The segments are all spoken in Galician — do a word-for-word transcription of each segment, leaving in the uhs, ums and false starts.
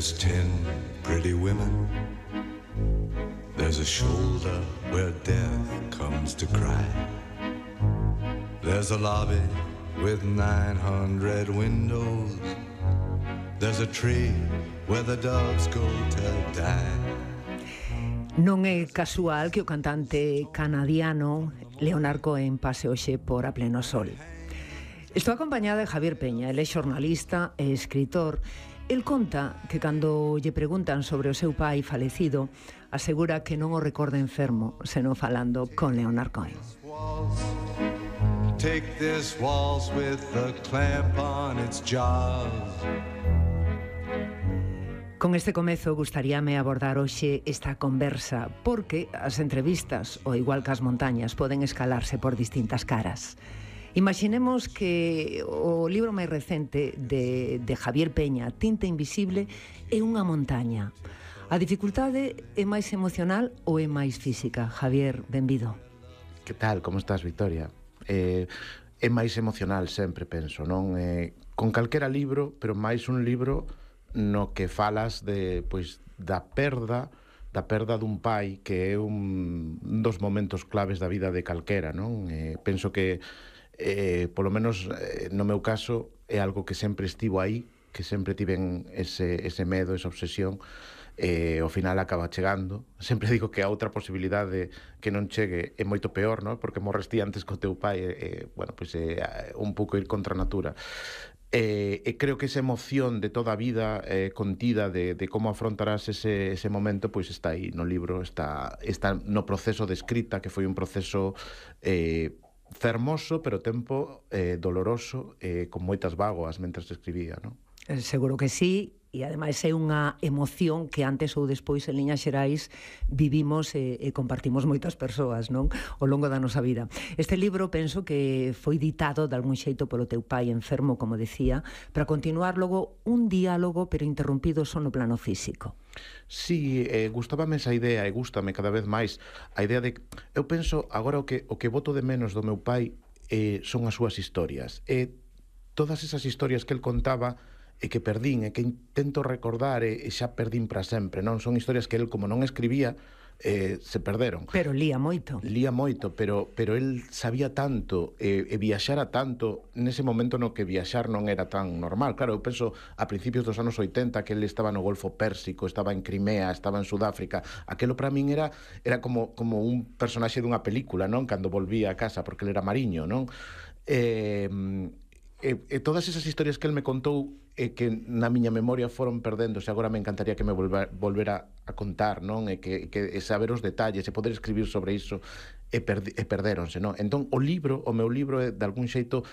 There's ten pretty women. There's a shoulder where death comes to cry. There's a lobby with nine hundred windows. There's a tree where the doves go to die. Non é casual que o cantante canadiano Leonard Cohen pase hoxe por A Pleno Sol. Estou acompañada de Javier Peña, ele é xornalista e escritor. El conta que cando lle preguntan sobre o seu pai falecido, asegura que non o recorda enfermo, senón falando con Leonard Cohen. Take this waltz with a clamp on its jaws. Con este comezo gustaríame abordar hoxe esta conversa, porque as entrevistas, ou igual que as montañas, poden escalarse por distintas caras. Imaginemos que o libro máis recente de, de Javier Peña, Tinta Invisible, é unha montaña. A dificultade é máis emocional ou é máis física? Javier, benvido. Que tal? Como estás, Victoria? Eh, é máis emocional sempre, penso, non? Eh, con calquera libro, pero máis un libro no que falas de, pois, da perda da perda dun pai, que é un dos momentos claves da vida de calquera, non? Eh, penso que eh, polo menos eh, no meu caso é algo que sempre estivo aí, que sempre tiven ese, ese medo, esa obsesión, e ao final acaba chegando. Sempre digo que a outra posibilidade que non chegue é moito peor, non? Porque morres ti antes co teu pai, e, e bueno, pois é un pouco ir contra a natura. E, e creo que esa emoción de toda a vida eh, contida de, de como afrontarás ese, ese momento, pois está aí no libro, está, está no proceso de escrita, que foi un proceso eh, fermoso, pero tempo eh, doloroso, eh, con moitas vagoas mentras escribía, non? Seguro que sí, e ademais é unha emoción que antes ou despois en liñas xerais vivimos e, e compartimos moitas persoas, non? Ao longo da nosa vida. Este libro penso que foi ditado de algún xeito polo teu pai enfermo, como decía, para continuar logo un diálogo pero interrompido só no plano físico. Sí, eh, gustábame esa idea e gústame cada vez máis a idea de... Eu penso agora o que, o que boto de menos do meu pai eh, son as súas historias. E todas esas historias que el contaba e que perdín, e que intento recordar e, e xa perdín para sempre, non? Son historias que el, como non escribía, eh, se perderon. Pero lía moito. Lía moito, pero, pero el sabía tanto e, e viaxara tanto nese momento no que viaxar non era tan normal. Claro, eu penso a principios dos anos oitenta que el estaba no Golfo Pérsico, estaba en Crimea, estaba en Sudáfrica. Aquelo para min era era como, como un personaxe dunha película, non? Cando volvía a casa, porque el era mariño, non? Eh... E, e todas esas historias que el me contou e que na miña memoria foron perdéndose, agora me encantaría que me volver, volvera a contar, non? E que, que e saber os detalles e poder escribir sobre iso e, perdi, e perdéronse, non? Entón, o libro, o meu libro é, de algún xeito,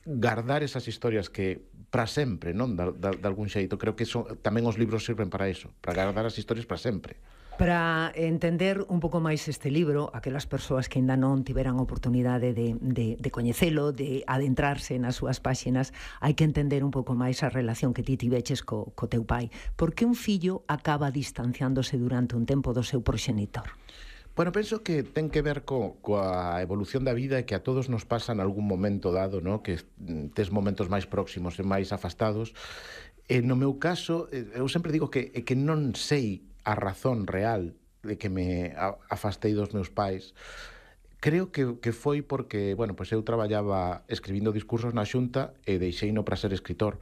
guardar esas historias que para sempre, non? De, de, de algún xeito, creo que son, tamén os libros sirven para eso, para guardar as historias para sempre. Para entender un pouco máis este libro, aquelas persoas que ainda non tiveran oportunidade de, de, de coñecelo, de adentrarse nas súas páxinas, hai que entender un pouco máis a relación que ti tiveches co, co teu pai. Por que un fillo acaba distanciándose durante un tempo do seu proxenitor? Bueno, penso que ten que ver co, coa evolución da vida e que a todos nos pasa en algún momento dado, ¿no? Que tes momentos máis próximos e máis afastados. E no meu caso, eu sempre digo que, que non sei a razón real de que me afastei dos meus pais. Creo que, que foi porque, bueno, pois eu traballaba escribindo discursos na Xunta e deixeino para ser escritor.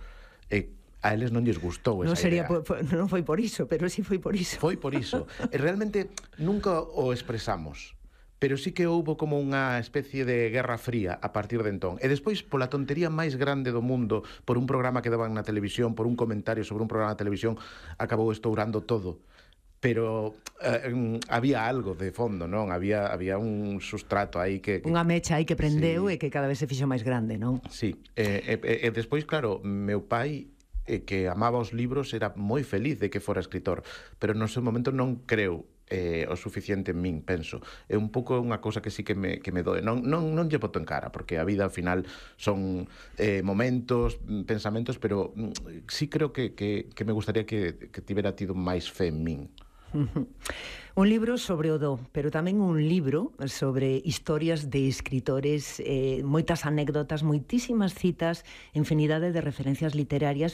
E a eles non lles gustou esa non sería idea. Por, por, non foi por iso, pero sí foi por iso. Foi por iso. E realmente nunca o expresamos, pero sí que houbo como unha especie de guerra fría a partir de entón. E despois, pola tontería máis grande do mundo, por un programa que daban na televisión, por un comentario sobre un programa na televisión, acabou estourando todo. Pero eh, había algo de fondo, non? Había, había un sustrato aí que... que unha mecha aí que prendeu, sí, e que cada vez se fixo máis grande, non? Sí, e, e, e despois, claro, meu pai, eh, que amaba os libros, era moi feliz de que fora escritor, pero no seu momento non creu eh, o suficiente en min, penso. É un pouco unha cousa que sí que me, que me doe. Non, non, non lle boto en cara, porque a vida, ao final, son eh, momentos, pensamentos, pero mm, sí creo que, que, que me gustaría que, que tivera tido máis fe en min. Un libro sobre o do, pero tamén un libro sobre historias de escritores, eh, moitas anécdotas, moitísimas citas, infinidade de referencias literarias,